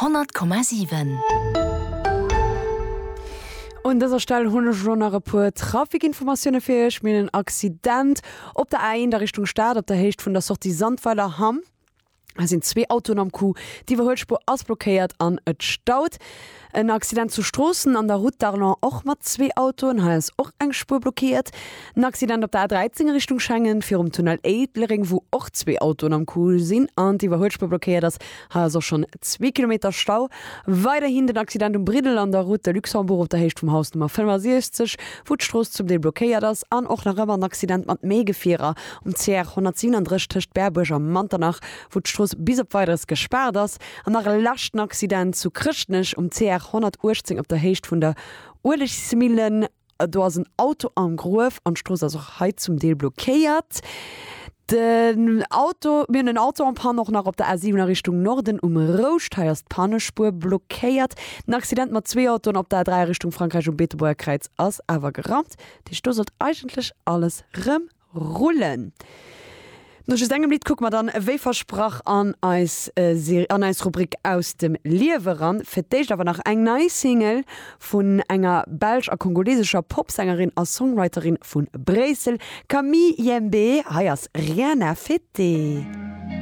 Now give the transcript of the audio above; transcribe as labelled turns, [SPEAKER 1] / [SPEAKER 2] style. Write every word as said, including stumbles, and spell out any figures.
[SPEAKER 1] Honnert Komma siwen.
[SPEAKER 2] Un dëser Stell hunn ech elo nach e puer Trafikinformatioune fir iech. Mir hunn en Accident op der A eent a Richtung Stad op der Héicht vun der Sortie Sandweiler Hamm. Hei sinn zwee Autoen am Coup, d'Iwwerhuelspuer ass blockéiert an et staut. En Accident zu Stroossen an der Route d'Arlon och mat zwee Autoen, hei ass och eng Spuer blockéiert. En Accident op der A dräizéng a Richtung Schengen virum Tunnel Éilereng, wou och zwee Autoen am Coup sinn an d'Iwwerhuelspuer blockéiert ass. Hei ass och schonn zwee Kilometer Stau. Weiderhin den Accident um Briddel an der Route de Luxembourg op der Héicht vum Haus Nummer fënnefasiechzeg, wou d'Strooss zum Deel blockéiert ass. An och nach ëmmer en Accident mat méi Gefierer um C R honnertsiwwenandrësseg tëscht Berbuerg a Manternach, wou d'Strooss bis op Weideres gespaart ass. An nach e leschten Accident zu Chrëschtnech um C R honnertuechtzéng op der Héicht vun der Uelegsmillen. Do ass en Auto am Gruef an d'Strooss ass och hei zum Deel blockéiert. Den Auto, mir hunn en Auto en panne och nach op der A siwen a Richtung Norden um Rouscht. Hei ass d'Pannespuer blockéiert. Den Accident mat zwee Autoen op der A dräi a Richtung Frankräich um Beetebuerger Kräiz ass awer geraumt. Dat heescht do sollt eigentlech alles rëm rullen. No just engem Lidd kucke mer dann wéi versprach an eis an eis Rubrik Aus dem Liewe ran. Fir d'éischt awer nach eng nei Single vun enger belsch a kongolesescher Popsängerin a Songwriterin vu Bréissel, Camille Yembe. Hei ass Rien à fêter.